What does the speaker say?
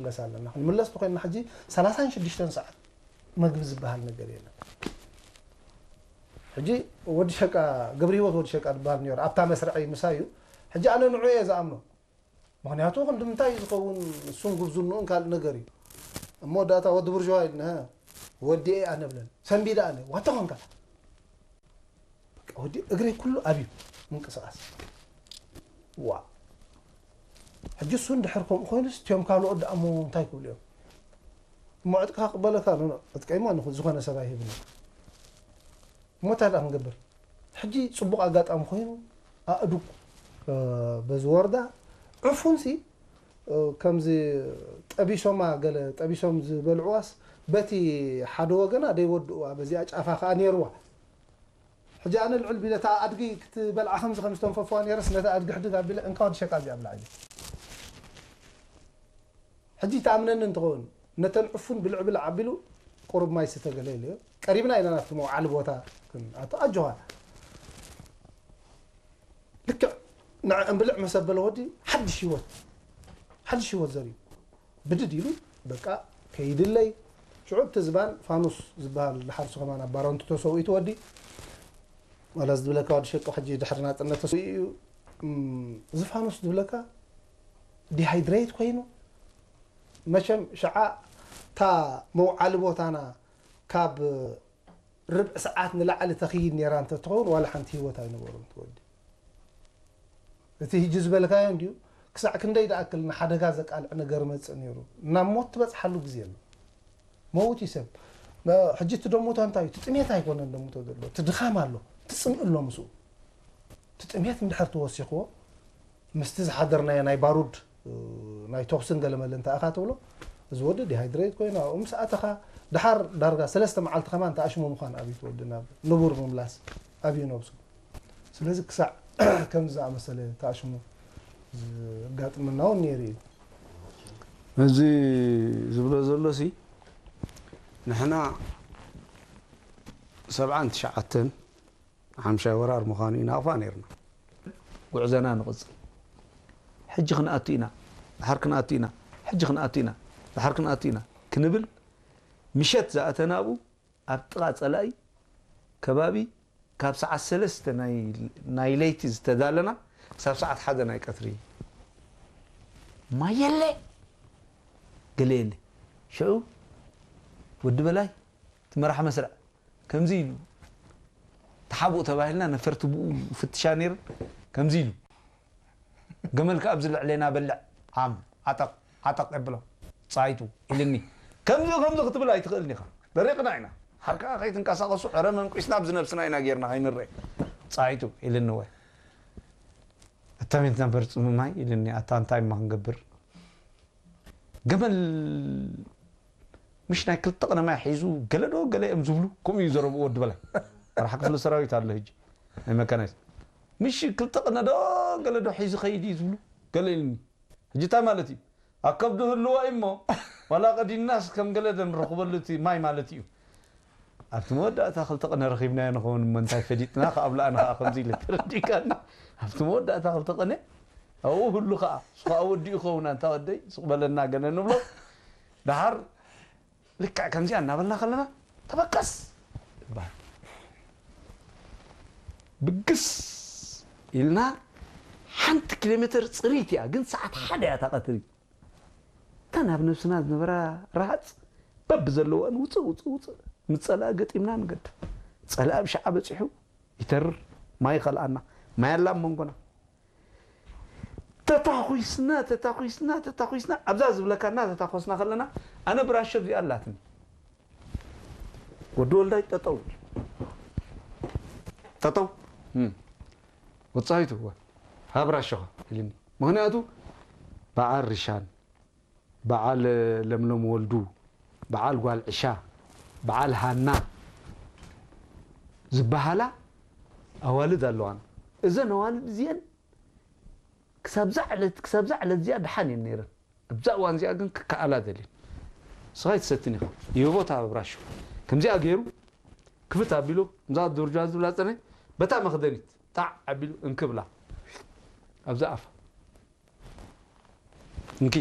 ክንምለስ ኣለና። ክንምለስ ተኮይንና ሕጂ ሰላሳን ሽዱሽተን ሰዓት መግቢ ዝበሃል ነገር የለን። ሕጂ ወዲ ሸቃ፣ ገብረ ህይወት ወዲ ሸቃ ዝበሃል ነይሩ። ኣብታ መስርዐይ ምሳዩ። ሕጂ ኣነ ንዑ እየ ዝኣምኖ። ምኽንያቱ ክንዲ ምንታይ እዩ ዝኸውን? እሱን ጉብዝንኡን ካልእ ነገር እዩ። እሞ ዳታ ወዲ ብርዥዋ ኢልና፣ ወዲ እየ ኣነ ብለን። ሰንቢደ ኣነ፣ ዋታ ኾንካ። በቃ ወዲ እግረይ ኩሉ ኣብዩ ምንቅስቃስ። ዋ። ሕጂ እሱ እንድሕር ከምኡ ኮይኑስ፣ እቲኦም ካልኦት ደኣ እሞ እንታይ ክብሉ እዮም? እሞ ዕጥቅኻ ክቕበለካ፣ ኖ፣ ኖ፣ ዕጥቀይ እሞ ንኹ-፣ ዝኾነ ሰብ ኣይህብን። እሞ እንታይ ደኣ ክንገብር? ሕጂ ጽቡቕ ኣጋጣሚ ኮይኑ፣ ኣእዱግ፣ እ፣ በዚ ወርዳ፣ ዕፉንሲ፣ እ፣ ከምዚ ጠቢሶማ፣ ገለ ጠቢሶም ዝበልዕዋስ፣ በቲ ሓደ ወገና ደይወድእዋ፣ በዚኣ ጫፋ ከኣ ነይርዋ። ሕጂ ኣነ ልዕል ቢለ፣ እታ ኣድጊ ክትበልዓ ከምዚ ከም ዝተንፈፍዋ ነይረስ፣ ነታ ኣድጊ ሕድግ ኣቢለ፣ እንካ ወዲ ሸቃ እዚኣ ብላዕ ኢለ። ሕጂ ትኣምነኒ እንትኸውን፣ ነተን ዕፉን ብልዕ ብልዕ ኣቢሉ፣ ቁሩብ ማይ ስተ ገለ ኢለዮ። ቀሪብና ኢና ናብቲ መውዓሊ ቦታ ክንኣቱ። ኣጆኻ። ልክዕ ንዐ እንብልዕ መሰ በለ ወዲ፣ ሓድሽ ህይወት፣ ሓድሽ ህይወት ዘርዩ። ብድድ ኢሉ፣ በቃ፣ ከይድለይ። ሽዑ እቲ ዝባን ፋኑስ ዝበሃል፣ ድሓር እሱ ከማን ኣብ ባረንቱ ተሰዊኡ እቲ ወዲ። ዋላ እዚ ዝብለካ ወዲ ሸጦ ሕጂ ድሕሪ ናጽነት ተሰዊኡ እዩ። እም፣ እዚ ፋኑስ ዝብለካ ዲሃይድሬት ኮይኑ፣ መቸም ሽዓ እታ መውዓሊ ቦታና ካብ ርብዒ ሰዓት ንላዕሊ ተኽይድ ነይራ እንተትኸውን፣ ዋላ ሓንቲ ህይወት ኣይነበሮን እቲ ወዲ። እቲ ሕጂ ዝበልካዮ እንድዩ፣ ክሳዕ ክንደይ ዝኣክል ንሓደጋ ዘቃልዕ ነገር መጽእ ነይሩ። ናብ ሞት ትበጽሓሉ ግዜ ኣሎ። መውት እዩ ሰብ። መ-፣ ሕጂ እቲ ደሞታ እንታይ እዩ? እቲ ጥሜት ኣይኮነን ደሞቶ ዘሎ። እቲ ድኻም ኣሎ። እቲ ጽምኢ ኣሎ ምስኡ። እቲ ጥሜት እንድሕር ተወሲኽዎ፣ ምስቲ ዝሓደርናዮ ናይ ባሩድ፣ እ፣ ናይ ተኹስን ገለመለ እንተ ኣኻ ትብሎ፣ እዚ ወዲ ዲሃይድሬት ኮይኑ ኣብኡ ምስ ኣተኻ፣ ድሓር ዳርጋ ሰለስተ መዓልቲ ከማን ተኣሽሙ ምዃን ኣብዩ እቲ ወዲ ናብ ንቡር ምምላስ ኣብዩ ነብሱ። ስለዚ ክሳዕ ከምዚ ዝኣመሰለ ተኣሽሙ ዘጋጥመና እውን ነይሩ እዩ። እዚ ዝብሎ ዘሎሲ ንሕና ሰብዓን ትሽዓተን ሓምሻይ ወራር ምዃኑ ኢና ኣፋ ነይርና። ጉዕዘና ንቕጽል። ሕጂ ክንኣቱ ኢና፣ ድሓር ክንኣቱ ኢና፣ ሕጂ ክንኣቱ ኢና፣ ድሓር ክንኣቱ ኢና ክንብል ምሸት ዝኣተና ኣብኡ ኣብ ጥቓ ጸላኢ ከባቢ ካብ ሰዓት ሰለስተ ናይ፣ ናይ ለይቲ ዝተዳለና ክሳብ ሰዓት ሓደ ናይ ቀትሪ ማይ የለ፣ ገለ የለ። ሽዑ ወዲ በላይ እቲ መራሒ መስርዕ ከምዚ ኢሉ፣ ተሓብኡ ተባሂልና ነፈርቲ ብኡ ፍትሻ ነይረን። ከምዚ ኢሉ፣ "ገመልካ ኣብዚ ልዕሌና በልዕ፣ ዓም፣ ዓጠቕ፣ ዓጠቕ የብሎ፣ ጻይቱ" ኢልኒ። ከምዚ፣ ከምዚ ክትብል ኣይትኽእልን ኢኻ። ደሪቕና ኢና። ሓር ከኣ ከይትንቀሳቐሱ፣ ዕረ መንቂስና ኣብዚ ነብስና ኢና ጌርና ከይንረአ። "ጻይቱ" ኢልኒ። ወይ "እተሜት ነበር ጽምማይ" ኢልኒ። ኣታ እንታይ እማ ክንገብር? ገመል ምሽ ናይ ክልተ ቅነ ማይ ሒዙ ገለ ዶ ገለ እዮም ዝብሉ፣ ከምኡ እዩ ዘረብኡ ወዲ በላይ። መራሒ ክፍሊ ሰራዊት ኣሎ ሕጂ፣ ናይ መካናይዝ። ምሽ ክልተ ቅነ ዶ ገለ ዶ ሒዙ ኸይድ እዩ ዝብሉ፣ ገለ ኢልኒ። ሕጂ እንታይ ማለት እዩ? ኣብ ከብዱ ህልዋ እዩ እሞ፣ ዋላ ቀዲናስ ከም ገለ ዶ ንረኽበሉ እቲ ማይ ማለት እዩ። ኣብቲ መወዳእታ ክልተ ቅነ ረኺብናዮ ንኸውን እሞ እንታይ ፈሊጥና፣ ከኣ ብላኣና ከኣ ከምዚ ኢለ ተረዲእካኒ። ኣብቲ መወዳእታ ክልተ ቅነ ኣብኡ ህሉ ከኣ፣ እሱ ከኣ ወዲኡ ይኸውን፣ ኣንታ ወደይ፣ ስቕ በለና ገለ ንብሎ። ደሓር ልክዕ ከምዚኣ እናበልና ከለና፣ "ተበገስ!" ይበሃል። ብግስ ኢልና፣ ሓንቲ ኪሎ ሜትር ጽሪት እያ፣ ግን ሰዓት ሓደ እያ እታ ቀትሪ። እተን ኣብ ነብስና ዝነበራ ረሃጽ በብዘለወን ውጽእ፣ ውጽእ፣ ውጽእ፣ ምስ ጸላኢ ገጢምና ንገድፍ። ጸላኢ ኣብ ሸዓ በጺሑ ይተርር፣ ማይ ይኸልኣና፣ ማይ ኣላ ኣብ መንጎና። ተታኹስና፣ ተታኹስና፣ ተታኹስና፣ ኣብዛ ዝብለካ እናተታኾስና ከለና፣ ኣነ ብራሾ እዚኣ ኣላትኒ። ወዲ ወልዳይ ጠጠው። ጠጠው። እም። ወጻኢቱ፣ "ሃብ ራሾኻ" ኢልኒ። ምኽንያቱ፣ በዓል ሪሻን፣ በዓል ለምለም ወልዱ፣ በዓል ጓል ዕሻ፣ በዓል ሃና ዝበሃላ ኣዋልድ ኣለዋና። እዘን ኣዋልድ እዚአን ክሳብዛ ዕለት፣ ክሳብዛ ዕለት እዚኣ ደሓን እየን ነይረን። ኣብዛ እዋን እዚኣ ግን ክከኣላ ደልየን። "ንስኻ ኣይትሰትን ኢኻ፣ ይህቦ ተሃበ ብራሾ" ከምዚኣ ገይሩ ክፍት ኣቢሉ፣ እዛ ዱርጃ ዝብላ ጸነ፣ በታ መኽደኒት ጣዕ ኣቢሉ እንክብላ፣ ኣብዛ ኣፋ። "እንኪ፣